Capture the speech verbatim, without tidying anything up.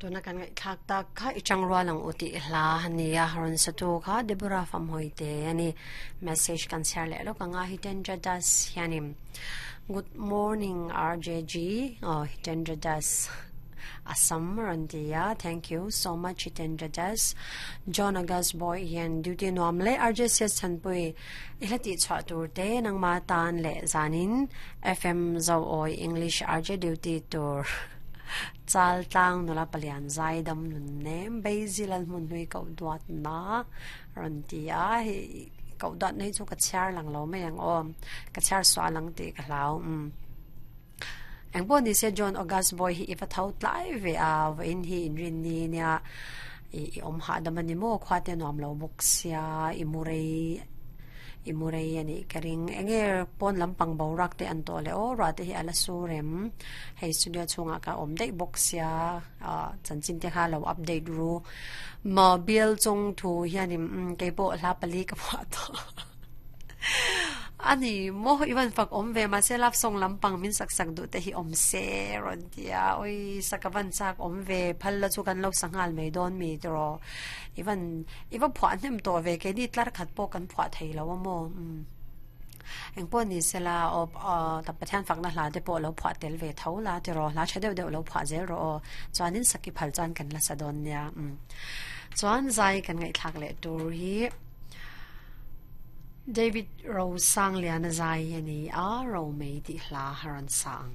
Tuna kan ngai thak tak kha ichang rualang uti hla hania haron satu kha Deborah fam hoite ani message kan share le lo kanga Hitendra Das hianim good morning R J G. Oh, Hitendra Das, Assam rantia. Thank you so much, Hitendra Das. John August Boy hian duty nuam le R J S Chanpui ila ti chwa tur te nangma tan le zanin F M Zo Oi English R J duty tur chal tlang nula palian zai dam nun nem beizilan mun hui ko duat na rantia. Hi ko dot nei chu ka char lang lo mai ang om ka char swa lang ti ka hlau um eng bo ni se. John August Boy hi ifa thau tlai ve a in hi in rin ni nia i om ha dam ani mo khwa te nom lo bok sia i murei i murei ani karing enge pon lampang bo rak te an to le o ra te hi ala surem hei studio chunga ka om dei bok sia a chanchin te kha lo update ru ma bill chung thu hianim ke po hla pali ka pha to ani mo iwan fak om ve ma se lap song lampang min sak sak du te hi om se ron tia oi sakavan sak om ve phal la chu kan lo sangal mai don mi tro iwan iwan phwa nem to ve ke ni tlar khat po kan phwa thei lo mo um eng po ni sela o ta pathian fak na hla te po lo phwa tel ve tho la te ro hla thadeu deuh lo phwa zel ro chuanin saki phal chan kan la sadon nia um chuan zai kan ngai thak le tur hi David Rose Sang Liana zai ani a ro mei ti hla haran sang.